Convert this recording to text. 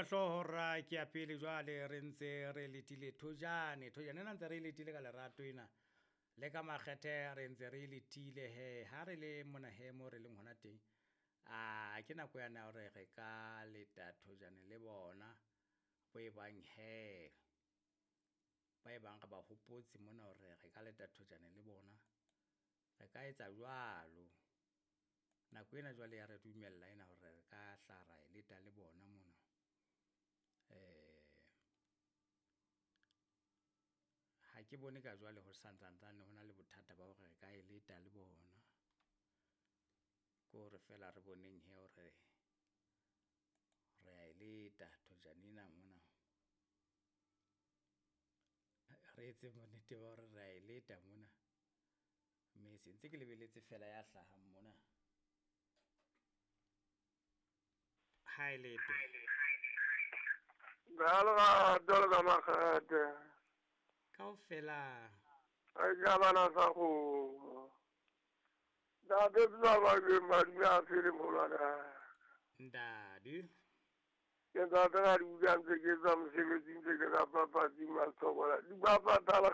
Ka hlooho hora ke ya pele jwale re ntse re letile thojane. Thojane ena ntse re e letile ka lerato ena. Le ka makgethe re ntse re e letile he. Ha re le mona he mo re leng hona teng. A ke nako yane ya hore re ka leta thojane le bona. Bo e bang he. Ba e bang re ba hopotse mona hore re ka leta thojane le bona. Re ka etsa jwalo. Nako ena jwale ya re dumella ena hore re ka hla ra e leta le bona mona. Ha ke bone ka jwale ho santsantsane ho na le bothata ba hore re ka e leta le bona. Ke hore feela re boneng he hore re a e leta thojane ena mona. Re etseng bonnete ba hore re a e leta mona. Mme se ntse ke lebeletse fela ya hlahang mona. Ha e lete. Ka lerato le ka makgethe. Kaofela. Re ja bana sa kgomo. Ntate Tsamake madume a phele molwana. Ntate. Ke ntate ga di utlwa ntse ke tswa mosebetsing ntse ke rapa patsi matsobola. Di bapatala.